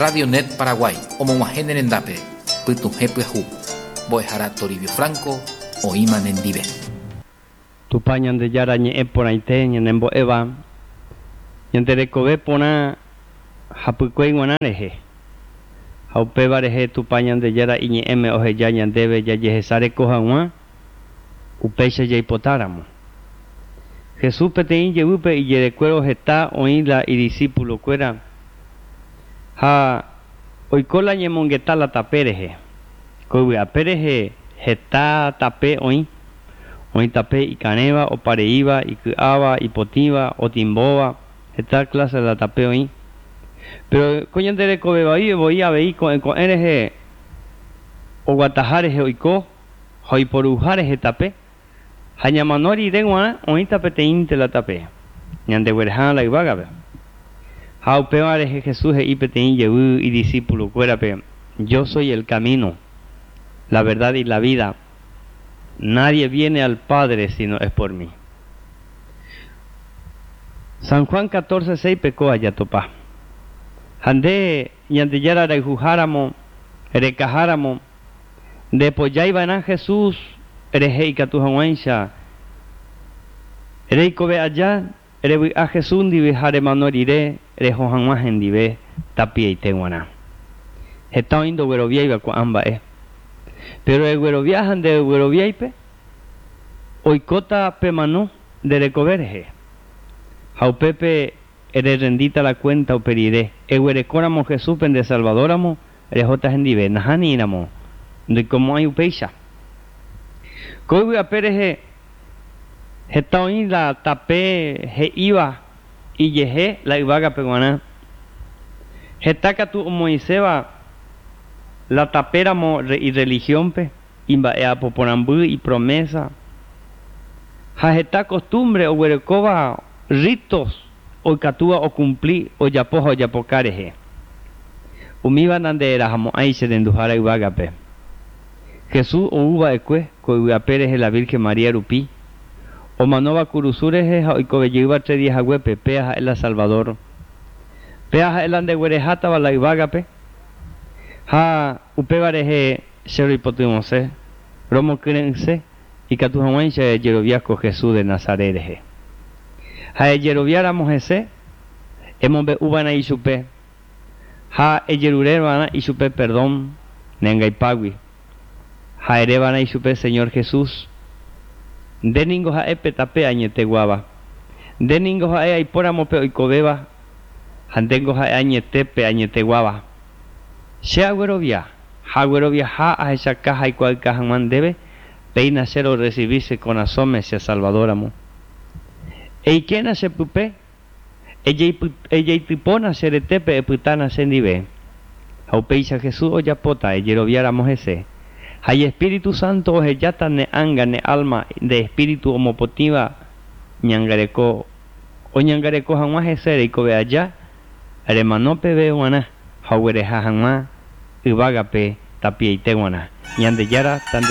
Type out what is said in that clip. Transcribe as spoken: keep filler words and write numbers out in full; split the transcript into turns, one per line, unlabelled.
Radio Net Paraguay, omog̃uahẽ ne rendápe, pytuhẽ pyahu. Mbo'ehára Toribio Franco, oĩma nendive.
Tupã Ñandejára ñe'ẽ porãite ñanembo'éva ñande rekove porã hapykuéi g̃uarã rehe ha upéva rehe Tupã Ñandejára iñe'ẽme oheja ñandéve jajehesareko hag̃ua upéicha jaipotáramo. Jesús peteĩ jevýpe ijerekuévo heta oĩ la idiscipulokuéra ha oiko la ñemongeta la tape rehe. Ko yvy'ape rehe heta tape oĩ oĩ tape ikarẽva, opareíva, iky'áva, ipotĩva, otimbóva, heta clase la tape oĩ. Pero ko ñande rekovevai voi avei ko'ẽ ko'ẽ rehe oguataha rehe oiko ha oiporuha rehe tape ha ñamano rire g̃uarã oĩta peteĩnte la tape ñandegueraha la yvágape. Ha upéva rehe Jesús he'i peteĩ jevy idiscipulokuérape: Yo soy el camino, la verdad y la vida. Nadie viene al Padre sino es por mí. San Juan catorce seis pekóa jatopa. Ha nde Ñandejára rayhuháramo, rekaháramo, ndepojáiva'erã Jesús rehe ikatu hag̃uáicha reikove aja revy'a Jesús ndive ha remano rire reho hag̃ua hendive tapiaite g̃uarã. Heta oĩ ndogueroviáiva ko'ã mba'e. Pero eguerovia ha ndegueroviáipe oikóta pemano nde rekove rehe. Ha upépe ererendíta la cuenta upe rire. Eguerekóramo Jesúspe nde Salvadoramo rehóta hendive. Nahániramo ndoikomo'ãi upéicha. Ko yvy'ape rehe heta oĩ la tape he'íva ijehe la yvágape g̃uarã. Heta katu omoĩséva la tapéramo ireligiónpe, imba'eapoporãmby, ipromesa. Ha heta costumbre oguerekóva ritos oikatúva ocumpli ojapo ha ojapoka rehe. Umíva nanderahamo'ãi che renduhára yvágape. Jesús ouva'ekue ko yvy'ape rehe la Virgen María rupi, omanóva kurusu rehe ha oikovejeýva tres días haguépe, péa ha'e la Salvador. Péa ha'e la ndeguerehátava la yvágape ha upéva rehe che roipotyvõse, romokyre'ỹse ikatu hag̃uáicha ejerovia ko Jesús de Nazaret rehe. Ha ejeroviáramo hese, emombe'uva'erã ichupe ha ejerureva'erã ichupe perdón neangaipágui. Ha ereva'erã ichupe Señor Jesús, nde ningo ha'e pe tape añeteguáva. Nde ningo ha'e aipóramo pe oikovéva ha ndéngo ha'e añete pe añeteguáva. Che aguerovia, ha agueroviaha ahechaka haikuaáka hag̃ua ndéve, péina che rorecibí che korasõme che Salvadoramo. Eikéna che pype, ejeitypóna che retépe epytána chendive. Ha upéicha Jesús ojapóta ejeroviáramo hese. Ha Espíritu Santo ohejáta ne ánga ne alma de espíritu omopotĩva ñangareko oñangareko hag̃ua hese reikove aja remano peve g̃uarã ha oguereha hag̃ua yvágape tapiaite g̃uarã. Ñandejára tande